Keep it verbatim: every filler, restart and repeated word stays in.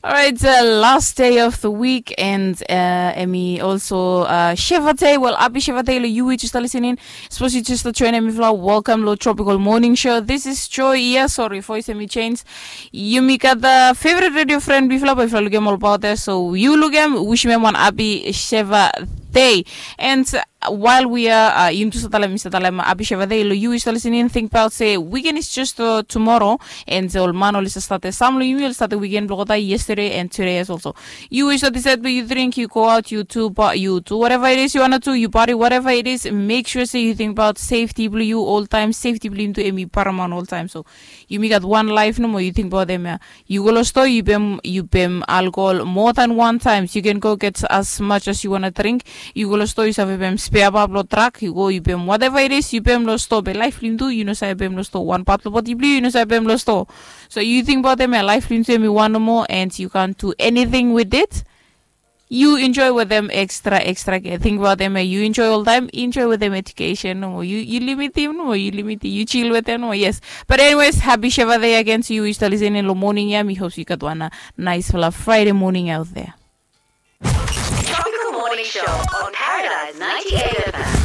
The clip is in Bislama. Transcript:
Alright, uh, last day of the week and uh, hemi also uh, Sheva Day. Well, happy Sheva Day lo yu we just listening. Suppose yu just join hemi fla. Welcome lo Tropical Morning Show. This is Joy. Yeah, sorry, voice hemi change. Yumi gat the favorite radio friend bifla, but bifla lukem all about there. So yu lukem, wishim hemi wan happy Sheva Day. And while we are uh, yumi tu sa talem, mi sa talem happy Sheva Day lo yu we just listening. Think about se weekend is just uh, tomorrow. And ol man oli sa start, sam lo yumi oli start weekend blong olgeta yesterday and today as also. Yu we just decide blong yu drink, yu go out, yu tu, but yu tu whatever it is yu wanna do, yu party, whatever it is. Make sure se yu think about safety blong yu all time. Safety blong yumi tu hemi paramount all time. So yumi gat wan life nomo, yu think about hemia. Yu go lo stoa, yu pem, yu pem alcohol more than one times. You can go get as much as you wanna drink. Yu go lo stoa, yu save pem spare part blong truck, yu go, yu pem whatever it is, yu pem lo stoa. Be life blong yumi tu, yu no save pem lo stoa. Wan part lo body blong yu, yu no save pem lo stoa. So yu think about hemia, life blong yumi tu hemi wan nomo, and you can't do anything with it. Yu enjoy wetem extra extra care. Think about hemia, yu enjoy all time, enjoy wetem education nomo. Yu, yu limitim nomo, yu limitim, yu chill wetem nomo. Yes. But anyways, happy Sheva Day again to yu we just listening lo morning ia. Mi hope yu gat wan uh, nice fala Friday morning out there. Tropical Morning Show on Paradise ninety-eight F M.